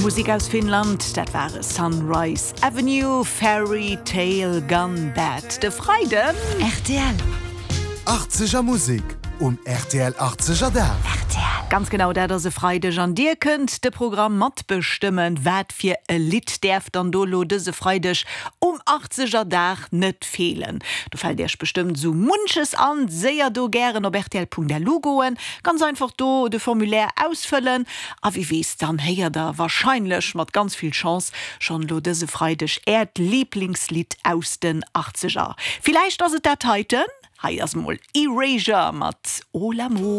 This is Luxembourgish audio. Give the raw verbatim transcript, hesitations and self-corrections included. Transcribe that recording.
Musek aus Finnland, dat war Sunrise Avenue, Fairy Tale Gone Bad. De Freiden R T L. achtzeger Musek um R T L achtzeger Dag. R T L. Ganz genau, dat ass e Freideg an dir kënnt de Programm matbestëmmen, wat fir e Lidd däerf dann do lo dëse Freideg um achtzeger Dag net feelen. Do fält iech bestëmmt sou munches an, séier do gären op R T L Punkt L U goen, ganz einfach do de Formulaire ausfëllen a wie weess, dann héiert der warscheinlech mat ganz vill Chance schonn lo dëse Freideg äert Lieblingslidd aus den achtzeger. Villäicht ass et dat heiten? Hei ass mol Erasure mat Olamo.